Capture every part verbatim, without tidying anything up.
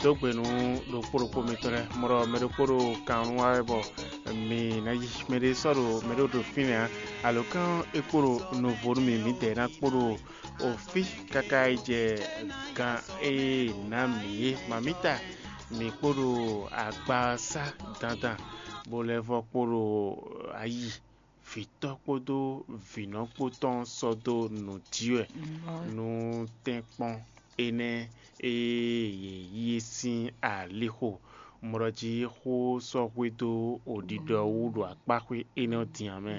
Dó gbe nú ɖokpó ɖokpó mitɔn lɛ́ɛ. Mɔ ɖɔ mɛ ɖokpó ɖo kan nú wa wɛ bɔ mi ná yi mɛ ɖé sɔ́ ɖo mɛ ɖé ɖo fínɛ́ ǎ. Alǒkan é kpo ɖo nuvo nú mi, mǐdɛɛ ná kpo ɖo ofí káká yi jɛ gan e ná mǐ é. Mamíta, mǐ kpo ɖo agba sá dandan, bó lɛ́ vɔ́ kpo ɖo ayi vǐtɔ́ kpódó vǐnɔ kpó tɔn sɔ́ dó nǔ jí wɛ nú tɛ́nkpɔ́n énɛ́ e yě yí é sín alixo. Mɔ ɖɔ jí xó sɔ́ xwedó oɖiɖɔ wú ɖo akpáxwé énɛ́ ɔ́ din ǎ mɛ.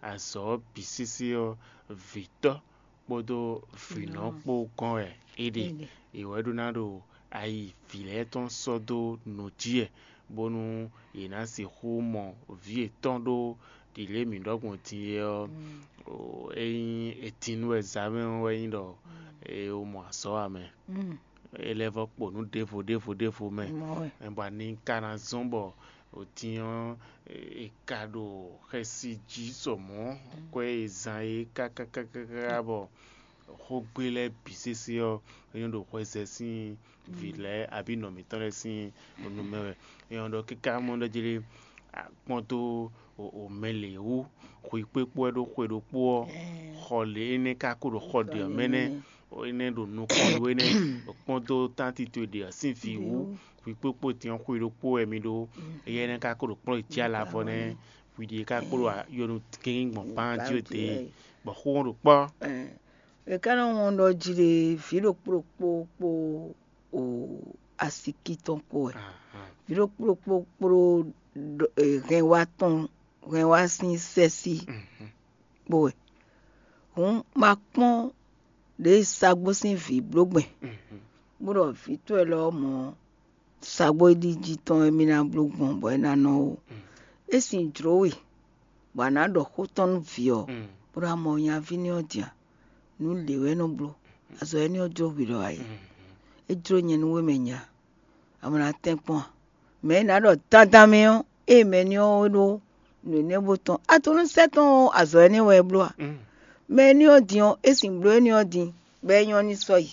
Azɔ̌ bǐ sésé ɔ́, vǐtɔ́ kpódó vǐnɔ kpó gɔ́n wɛ é ɖe. È wɛ ɖó ná ɖo ayi vǐ lɛ́ɛ tɔn sɔ́ dó nǔ jí wɛ, bónú yě ná sixú mɔ vǐ yětɔn ɖó ɖǐlé mǐ ɖɔ gbɔn din é ɔ́, é nyí etin nú wɛ zǎmɛ ɔ́ wɛ nyí ɖɔ é wó mɔ azɔ̌ ǎ mɛ. É lɛ́ vɔ́ kpo nǔ ɖěvo ɖěvo ɖěvo mɛ, bɔ ani ka ná zɔ́n bɔ otin ɔ́ è ka ɖo xɛsi jí sɔ mɔ̌ kwɛ́ e zan é kákákáká bɔ xógbé lɛ́ɛ bǐ sésé ɔ́, é nyɔ́ ɖo hwɛzɛ sín vǐ lɛ́ɛ abǐ nɔ mǐtɔn lɛ́ɛ sín nu mɛ wɛ. É nyɔ́ ɖɔ káká mɔ ɖɔ jí lé, kpɔ́n dó mɛ lě wú, xwikpékpó wɛ ɖó xwe ɖokpó ɔ́, xɔ lě énɛ́ ka ko ɖo xɔ ɖě ɔ́ mɛ nɛ́. Énɛ́ ɖo nukɔn nú we nɛ́, kpɔ́n dó tánti towe ɖě ɔ́ sín vǐ wú, xwikpékpó din ɔ́ xwe ɖokpó wɛ mi ɖó. Éyɛ́ énɛ́ ka ko ɖo kplɔ́n yi cí alavɔ nɛ́, hwi ɖíe ka kpo ɖo yɔnu gěgé gbɔn kpán jí o dě, bɔ xó ɔ́ ɖo kpɔ́. È ka nɔ wɔn ɖɔ jí ɖe vǐ ɖokpó ɖokpó kpó o asiki tɔn kpó wɛ. Vǐ ɖokpó ɖokpó kpó hɛn wá tɔn, hɛn wá sín sɛ́sí kpó wɛ. Hǔn ma kpɔ́n ɖě sagbó sín vǐ bló gbɛn, bó ɖɔ vǐ towe lɔ mɔ̌ sagbó e ɖi jí tɔn wɛ mì ná bló gbɔn bɔ é ná nɔ ó. É sin jlǒ we, bɔ a nǎ ɖɔ xó tɔn nú vǐ ɔ́, bó ɖo amɔ nyaví ní ɔ́ din a? Nǔ lě wɛ é nɔ bló. Azɔ̌ énɛ́ ɔ́ jló hwi ɖɔ ǎ é. É jló nyɛ nú we mɛ nya, a mɔ ná tɛ́nkpɔ́n a? Mɛ̌ ná ɖɔ dandan mɛ ɔ́, ée mɛ ní ɔ́ é ɖó nǔ énɛ́ bó tɔn, a to nú sɛ́ tɔn ɔ́, azɔ̌ énɛ́ wɛ é bló a? Mɛ ní ɔ́ din ɔ́, é sin bló énɛ́ ɔ́ din, bɔ é nyɔ́ ní sɔ́ yi.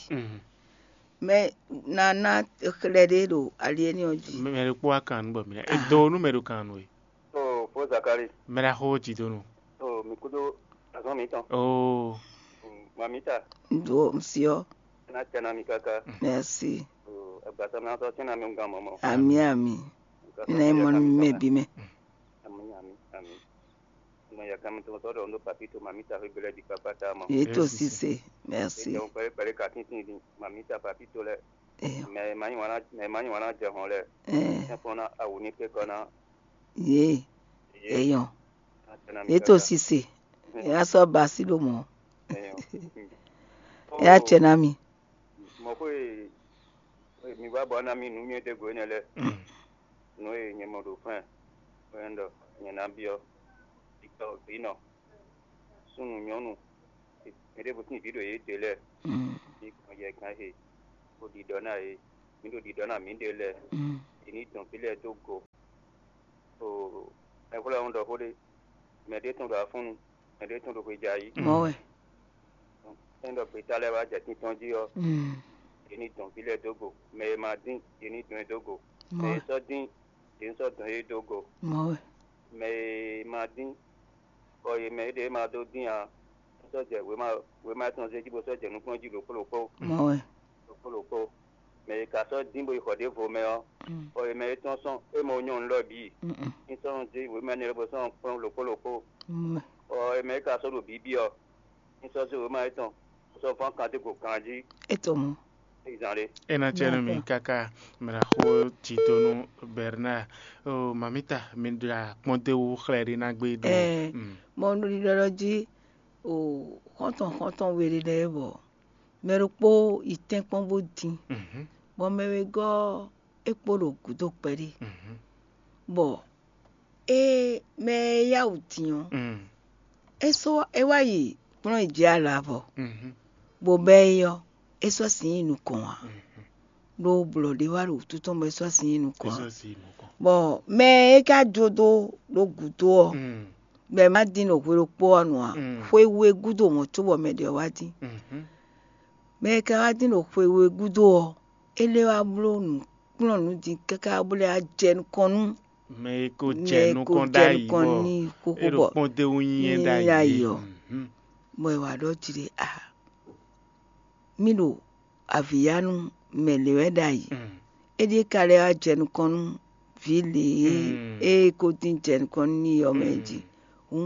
Mɛ ná ná xlɛ́ ɖé ɖo ali énɛ́ ɔ́ jí. Mɛ ɖokpó wá kan nú bɔ mǐ ná é dó nú mɛ ɖo kan nú we. Oo, fó Zakali. Mɛ ɖaxó jí dó nú. Oo, mi kúdó azɔn mi tɔn. Oo. Mamita. Ndo msiɔ. Na tɛna mi kaka. Merci. Oo, agbasa mi atɔ tɛna mi gan mɔmɔ. Ami ami. Ina imɔ mi mɛ bi mɛ. Ami ami ami. Mo ya kan mi to so do ndo papito mamita fe bele di papa ta mo. Yeto sise. Merci. Mo pere pere ka tin tin di mamita papito le. Eyo. Mɛ ma nyi wana, mɛ ma nyi wana jɛ hɔn lɛ. Ɛɛ. Ɛfɔ na awu ni pe kɔ na. Ye. Eyo. Atɛna mi. Yeto sise. Ya sɔ basi ɖo mɔ. Eyo. Ya tsɛ na mi. Mɔ ko e mi va bɔ na mi nu nyɛ de go ne lɛ. Nu e nyɛ mɔ ɖo fɛn. Fɛn dɔ nyɛ na biɔ. Bitɔ binɔ. Súnnu nyɔ́nu. Mi ɖe bó sín vǐ ɖo yě de lɛ. Bí gbɔn yɛ gán he. Bó ɖiɖɔ ná yě. Mi ɖo ɖiɖɔ ná mi ɖe lɛ. Yě ní dɔn fí lɛ dó go. O, ɛhwlɛ́ ɔ́ ɖɔ xó ɖé. Mɛ ɖé tɔn ɖo afúnnu, mɛ ɖé tɔn ɖo xwejayi. Mɔ̌ wɛ. Ényí ɖɔ gbeta lɛ́ɛ wá jɛ tíntɔ́n jí ɔ́, yě ní dɔn vǐ lɛ́ɛ dó go. Mɛ e ma dín, yě ní dɔn ɛ dó go. Mɛ e sɔ́ dín, yě ní sɔ́ dɔn yě dó go. Mɔ̌ wɛ. Mɛ e ma dín, bɔ yě mɛ e ɖě ma dó dín ǎ, sɔ́ jɛ wěma wěma tɔn zé jí bó sɔ́ jɛ nukúnnú jí ɖokpó ɖokpó. Mɔ̌ wɛ. Ɖokpó ɖokpó. Mɛ e ka sɔ́ dín bó yi xɔ ɖěvo mɛ ɔ́, bɔ è mɛ étɔn sɔ́ é mɔ nyɔ́nu lɔ bǐ. Ní sɔ́ nɔ dín wěma énɛ́ lɛ́ɛ bó sɔ́ nɔ kplɔ́n ɖokpó ɖokpó. Bɔ è mɛ e ka sɔ́ ɖo bǐbí ɔ́, ní sɔ́ zé wěma étɔn bó sɔ́ fán kan dó go ganjí. É to mɔ̌. Zan ɖé. É ná cɛ nú mi káká mɛ ná xó tito nú Bernard. Ó, mamita, mi ɖo akpɔ́n dó wú xlɛ́ ɖé ná gbé ɖó. Ɛɛ, mɔ ɖiɖɔ jí o xɔ́ntɔn xɔ́ntɔn we ɖé lɛ́ɛ bɔ mɛ ɖokpó yi tɛ́nkpɔ́n bó dín, bɔ mɛ wegɔ́ ɔ́, é kpo ɖo gǔdo kpɛɖé, bɔ é mɛ e yá wǔ dín ɔ́, é sɔ́ é wá yi kplɔ́n yi jɛ alavɔ, bɔ bɛ́ é ɔ́, é sɔ́ sin yi nukɔn ǎ, ɖó blɔ̌ ɖé wá ɖo wútu tɔn bɔ é sɔ́ sin yi nukɔn ǎ. Bɔ mɛ e ka jó dó ɖo gǔdo ɔ́, bɔ è má dín ɖo hwe ɖokpó ɔ́ nu ǎ, xwe we gúdo mɔ̌ cóbɔ mɛ ɖě ɔ́ wá dín. Mɛ e ka wá dín ɖo xwe we gúdo ɔ́, é lɛ́ wá bló nǔ kplɔ́n nǔ din káká bó lɛ́ wá jɛ nukɔn nú mɛ e ko mɛ jɛ e ko nukɔn jɛ ɖ'ayǐ nukɔn bɔ n'i xóxó é ɖo bɔ kpɔ́n dó wú nyi ɛ nyi ɖ'ayǐ ɖ'ayǐ é. ɔ́. Mhm. Bɔ è wǎ ɖɔ jí ɖe a mì ɖo avǐyanu mɛ lě wɛ ɖ'ayǐ. Mm. É ɖíe ka lɛ́ wá jɛ nukɔn nú vǐ lě e Mm. é ko dín jɛ nukɔn nú n'i ɔ́ mɛ jí. Hǔn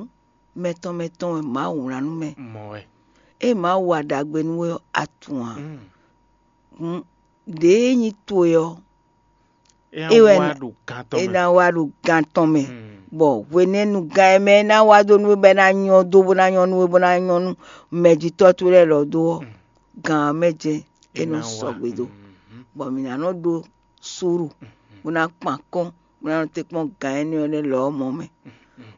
mɛ tɔn mɛ tɔn wɛ Mawu wlán nú mɛ. Mɔ wɛ. Ée Mawu wa ɖagbe nú we ɔ́, a tunwun ǎ. Mm. Hǔn ɖěe nyí towe ɔ́, É é wɛ wá ná- ɖo gan tɔn é mɛ. ná wá ɖo gan tɔn mɛ, Mm. bɔ hwenɛ́nu gán e mɛ é ná wá dó nú we bɔ é ná nyɔ́ dó bó ná nyɔ́ nú we bó ná nyɔ́ nú mɛjitɔ́ towe lɛ́ɛ lɔ dó ɔ́, gan ɔ́ mɛ jɛ́n é nɔ sɔgbe dó, bɔ mǐ ná nɔ ɖó súru, bó ná kpan kɔ́n, bó ná nɔ te kpɔ́n gan énɛ́ ɔ́ lɛ́ɛ lɔ ɔ́ mɔ mɛ.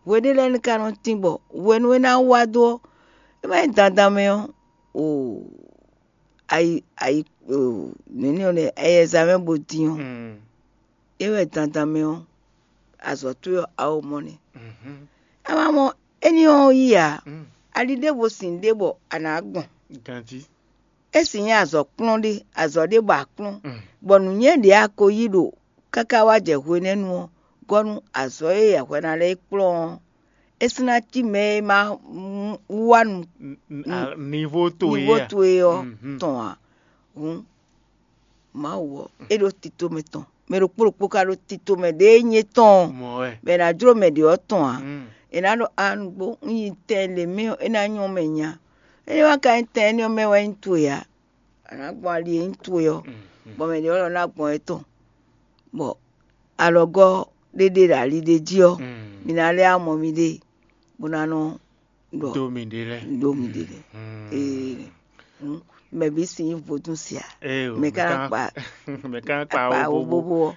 Hweɖé lɛ́ɛ ní ka nɔ tín bɔ hwenu e é ná wá dó ɔ́, é má nyí dandan mɛ ɔ́, o ayi ayi o nɛ̌ni ɔ́ lɛ́ɛ ɛyɛza mɛ bó dín ɔ́, é wɛ dandan mɛ ɔ́, azɔ̌ towe ɔ́, a ó mɔ nɛ́. A ma mɔ éní ɔ́ yí ǎ, ali ɖěvo sin ɖé bɔ a nǎ gbɔn. Ganjí. É sin nyí azɔ̌ kplɔ́n ɖé, azɔ̌ ɖé bɔ a kplɔ́n, bɔ nǔnywɛ́ ɖě a ko yí ɖo káká wá jɛ hwenɛ́nu ɔ́ gɔ́ nú azɔ̌ e hwɛ ná lɛ́ yi kplɔ́n ɔ́, é sin ná cí mɛ e ma wá nu N- n- a- nivo towe nivo a? towe ɔ́ Mhm. tɔn ǎ. Hǔn Mawu ɔ́, é ɖo tito mɛ tɔn, mɛ ɖokpó ɖokpó ka ɖo tito mɛ ɖě e nyí étɔn ɔ́, Mɔ wɛ. bɔ è nǎ jló mɛ ɖě ɔ́ tɔn ǎ. Mm. È nǎ ɖɔ a nǔgbó un yi tɛn lě mɛ ɔ́, é ná nyɔ́ mɛ nya. É wá ka nyí tɛn énɛ́ ɔ́ mɛ wɛ nyí towe ǎ. A nǎ gbɔn ali e nyí towe ɔ́, Mm. bɔ mɛ ɖě ɔ́ lɔ ná gbɔn étɔn, bɔ alɔgɔ́ ɖé ɖe ɖo ali ɖé jí ɔ́, Mm. mi ná lɛ́ amɔ miɖée, bó ná nɔ ɖɔ Do mi ɖe lɛ. ɖó miɖée lɛ. Mm. Ee, hǔn mɛ bǐ sin nyí vodún sia. Ee o, Mɛ ka ná kpa mɛ ka ná kpa kpa wo wo bobo. bobo ɔ́.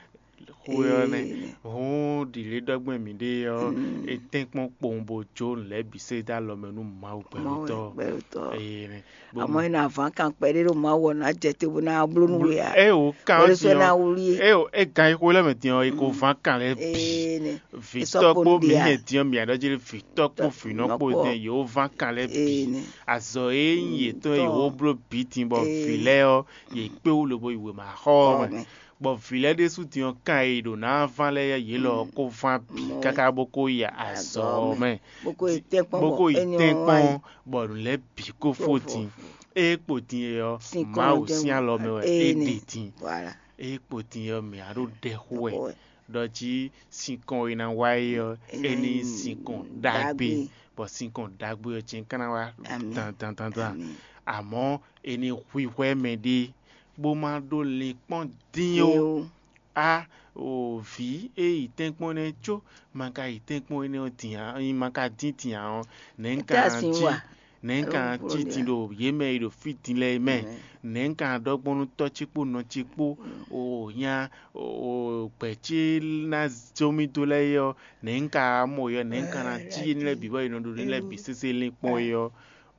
Xwe ɔ́ nɛ. Ee, Hɔn ɖi lě ɖɔgbɛn mi ɖe ɔ́, e tɛn kpɔn kpowun bo jó lɛ bǐ se dá lɔ mɛ nú Mawu Mawu gbɛtɔ. gbɛtɔ. Ee nɛ. Àmọ́ ina vǎn kan kpɛɖé ɖo Mawu ɔ́ ná jɛ te bó ná bló nú we ǎ. Eye wò kan Wòle ɔ́ sɔ́ ná tiɲɔ. wlí é. Eye wò e gan yi xwe lɛ mɛ tiɲɔ e ko ván kan lɛ bǐ. Ee, nɛ. Vitɔ kpó mi hɛn tiɲɔ mi aɖɔ jeli vitɔ kpó vinɔ kpó dɛn yewo ván kan lɛ Ee, bǐ. nɛ. Azɔ e nyi yětɔn Tɔ. yewo bló bǐ tin bɔ Ee. vǐ lɛ́ɛ ɔ́ yě kpé wú lobo yi wěma xɔ ɔ́ mɛ. Mɛ. Bɔ vǐ lɛ́ɛ ɖésú din ɔ́ kan e ɖo ná ván lɛ́ɛ yě lɔ ɔ́ kó ván bǐ káká bó kó yi azɔ ɔ́ mɛ. Bó kó yi tɛ́nkpɔ́n Bó bɔ kó yi éní ɔ́ tɛ́nkpɔ́n wá yi. Bɔ nǔ lɛ́ɛ bǐ kó fó din. Ée kpo din e ɔ́, Sinkɔn Mawu jɛ́n sín wú. alɔ mɛ wɛ Ee, é nɛ. ɖe din. Voilà. Ée kpo din e ɔ́, mǐ á ɖó ɖɛ xó wɛ. Xó wɛ. Ɖɔ jí sinkɔn e ná wá é ɔ́, É ná é ní nyí sinkɔn sinkɔn ɖagbe. ɖagbe. Bɔ sinkɔn ɖagbe ɔ́ jɛ́n ka ná wá Amǐn. dandandandan. Amǐn. Àmọ́ é ní hwíhwɛ́ mɛ ɖé bó má ɖó linkpɔ́n dín Dín ó. Ó. A o vǐ e yi tɛ́nkpɔ́n nɛ́ có ma ka yi tɛ́nkpɔ́n énɛ́ ɔ́ din ǎ, ma ka dín din ǎ ɔ́, nɛ̌ un Étɛ́ ka a sin cí wa? nɛ̌ un ka Alɔ cí bló din ɖe ɖo yě mɛ e ɖo fí din lɛ́ɛ mɛ? Nɛ̌ un ka ɖɔ gbɔn nú tɔ́ ce kpó nɔ ce kpó o nya o gbɛ̌ ce ná zɔ́n mì dó lɛ́ɛ é ɔ́, nɛ̌ un ka mɔ yɔ nɛ̌ un ka ná cí énɛ́ lɛ́ɛ bǐ bɔ è nɔ ɖo énɛ́ lɛ́ɛ bǐ sésé lín kpɔ́n é ɔ́?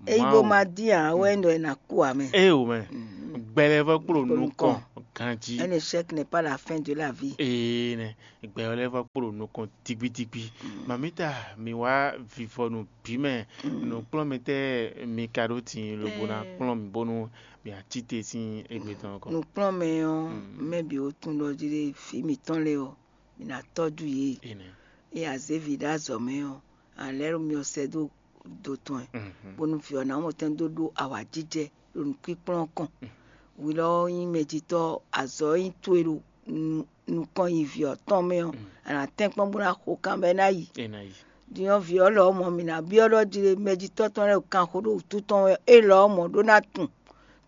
Eyi bó ma dín ǎ wɛ ɖɔ è nà kú ǎ mɛ. Ée o mɛ, gbɛlɛvɔ kpó ɖo nukɔn ganjí. Un échec n'est pas la fin de la vie. Ee nɛ, gbɛlɛvɔ kpó ɖo nukɔn digbidigbi. Mamita, mi wá vivɔnu bǐ mɛ, nǔkplɔ́nmɛtɛ́ mi ka ɖó tin lobo ná kplɔ́n mi bónú mi ací te sín égbé tɔn kɔ. Nǔkplɔ́nmɛ ɔ́, mɛ bǐ ó tún ɖɔ jí ɖé fí mǐtɔn lé ɔ́, mǐ ná tɔ́jú yě. Enɛ. Ée a zě vǐ ɖó azɔ̌ mɛ ɔ́, a lɛ́ ɖo myɔ sɛ́ dó do tɔn ɛ, bónú vǐ ɔ́ ná mɔ tɛn dó ɖó awǎjijɛ ɖo nǔkpíkplɔ́n ɔ́ kɔn. Hwi lɔ ɔ́ nyí mɛjitɔ́, azɔ̌ e nyí towe ɖo nu- nukɔn yi vǐ ɔ́ tɔn mɛ ɔ́, a nǎ tɛ́nkpɔ́n bó ná xo kan bɔ é ná yi. É ná yi. Din ɔ́, vǐ ɔ́ lɔ ɔ́ mɔ mǐ ná byɔ́ ɖɔ jí ɖé mɛjitɔ́ tɔn lɛ́ɛ ɖo kanxo ɖo wǔtu tɔn wɛ, é lɔ ɔ́ mɔ ɖó ná tun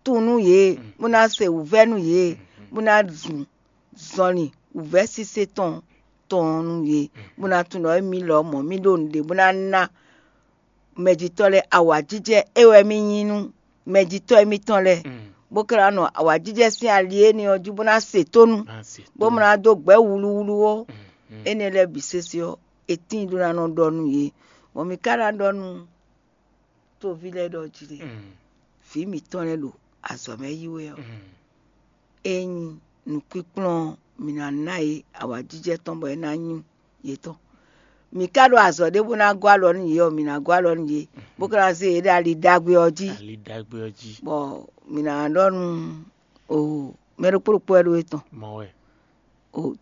tun nú yě, bó ná se wǔvɛ́ nú yě, bó ná zun zɔnlin wǔvɛ́ sise tɔn tɔn nú yě, bó ná tunwun ɖɔ émí lɔ mɔ̌ mì ɖo nǔɖé bó ná ná mɛjitɔ́ lɛ́ɛ awǎjijɛ é wɛ mì nyí nú mɛjitɔ́ émítɔn lɛ́ɛ, bó ka ná nɔ awǎjijɛ sín ali énɛ́ ɔ́ jí bó ná se tónú, bó ná dó gbɛ̌ wluwlu ó. Énɛ́ lɛ́ɛ bǐ sésé ɔ́, è tíin ɖó ná nɔ ɖɔ nú yě. Bɔ mǐ ka ná ɖɔ nú toví lɛ́ɛ ɖɔ jí ɖe, vǐ mǐtɔn lɛ́ɛ ɖo azɔ̌ mɛ yí wɛ ɔ́, ényí nǔkpíkplɔ́n ɔ́, mǐ ná ná yě awǎjijɛ tɔn bɔ é ná nyú yětɔn. Mǐ ka ɖo azɔ̌ ɖé bó ná gɔ́ alɔ nú yě ɔ́, mǐ ná gɔ́ alɔ nú yě, bó ka ná zé yě ɖo ali ɖagbe ɔ́ jí, Ali ɖagbe ɔ́ jí. Bɔ mǐ ná ɖɔ nú o mɛ ɖokpó ɖokpó wɛ ɖó é tɔn. Mɔ wɛ.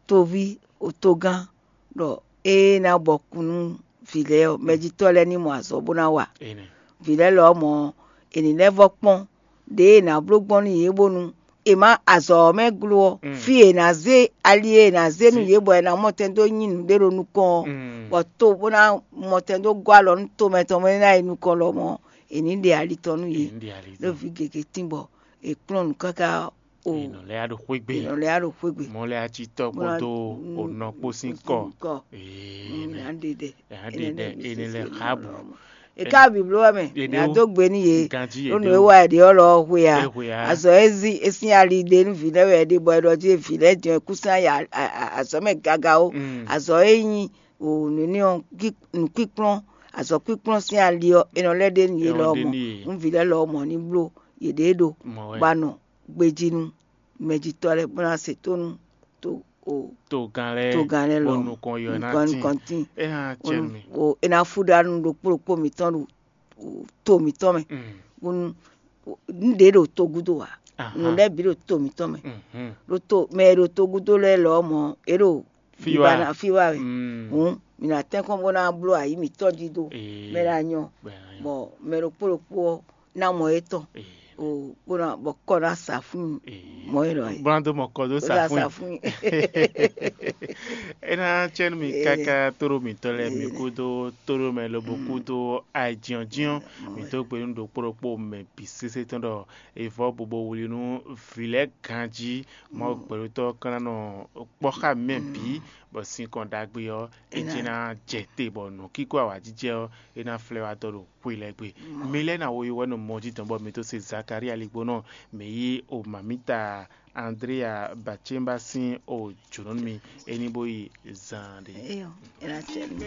toví, togán, ɖɔ ée ná bɔ kún nú vǐ lɛ́ɛ ɔ́, mɛjitɔ́ lɛ́ɛ ní mɔ azɔ̌ bó ná wa. Vǐ lɛ́ɛ lɔ ɔ́ mɔ è nǐ lɛ́ vɔ́ kpɔ́n ɖěe è nǎ bló gbɔn nú yě bónú è má azɔ̌ ɔ́ mɛ glo ɔ́, fí e è nǎ zé ali e è nǎ zé nú yě bɔ è nǎ mɔ tɛn dó nyi nǔɖé ɖo nukɔn ɔ́, bɔ to bó ná mɔ tɛn dó gɔ́ alɔ nú tomɛ tɔn mɛ ná yi nukɔn lɔmɔ̌, è nǐ ɖe ali tɔn nú yě. Ɖó vǐ gěgé tín bɔ è kplɔ́n nǔ káká o. È nɔ lɛ́ ɖo xwé gbe. È nɔ lɛ́ ɖo xwé gbe. Mɔ lɛ́ atitɔ kpódó onɔ kpó sín kɔ. Ee, ná ɖe ɖɛ. Ná ɖe ɖɛ. Enɛ lɛ xá bǔ. È ká bǐbló wɛ mɛ, è nǎ dó gbe nú yé. Ganjí yě ɖó nǔ e wa è ɖe ɔ́ lɔ ɔ́ hwe a? Azɔ e zí e sín ali ɖe nú vǐ lɛ́ɛ wɛ è ɖe bɔ è ɖɔ jí vǐ lɛ́ɛ jɛ́n kúsán ya azɔ̌ mɛ gaga ó. Azɔ e nyí nǔ ní ɔ́, nǔkpíkplɔ́n, azɔ̌ kpíkplɔ́n sín ali ɔ́, è nɔ lɛ́ ɖe nú yé lɔ ɔ́ mɔ. Nú vǐ lɛ́ɛ lɔ ɔ́ mɔ ní bló yěɖée ɖo bó ná nɔ gbejí nú mɛjitɔ́ lɛ́ɛ bó ná se tónú to o togán lɛ́ɛ togán lɛ́ɛ lɔ o nukɔn yɔ ná nukɔn tín nukɔn tín. É hã cɛ mi. O é ná fú ɖa nú ɖokpó ɖokpó mǐtɔn ɖo to mǐtɔn mɛ. Bónú nǔɖé ɖo togúdo ǎ. Nǔ lɛ́ɛ bǐ ɖo to mǐtɔn mɛ. Ɖo to mɛ e ɖo togúdo lɛ́ɛ lɔ mɔ é ɖo fiwa fiwa wɛ. Hǔn mǐ ná tɛ́nkɔ́n bó ná bló ayǐ mǐtɔn jí dó mɛ ná nyɔ bɔ mɛ ɖokpó ɖokpó ɔ́ ná mɔ étɔn o bó ná bɔ kɔ ná sa fún mɔ é lɔ é. Bó ná dó mɔ kɔ dó sa fún. É ná cɛ́ nú mi káká tóɖó mǐtɔn lɛ́ɛ mi kúdó tóɖó mɛ lobo kúdó ayǐjínjɔ́n mǐ dó gbe nú ɖokpó ɖokpó mɛ bǐ sésé tɔn ɖɔ è vɔ́ bobo wlí nú vǐ lɛ́ɛ ganjí. Mawu gbɛɖótɔ́ ɔ́ ka ná nɔ kpɔ́ xá mǐ mɛ bǐ bɔ sinkɔn ɖagbe ɔ́ é jí ná jɛ te bɔ nǔkíkó awǎjijɛ ɔ́ é ná flɛ́ wá dɔ ɖo xwe lɛ́ɛ gbe. Mi lɛ́ɛ ná wo yi wɛ nɔ mɔ jí dɔn bɔ mi dó se Zakalía ligbónɔ, mǐ yí o mamǐta Andréa Bacémba sín o jǒnɔ nú mi, é ní bó yi zan ɖé. Eyɔ, é ná cɛ nú mi.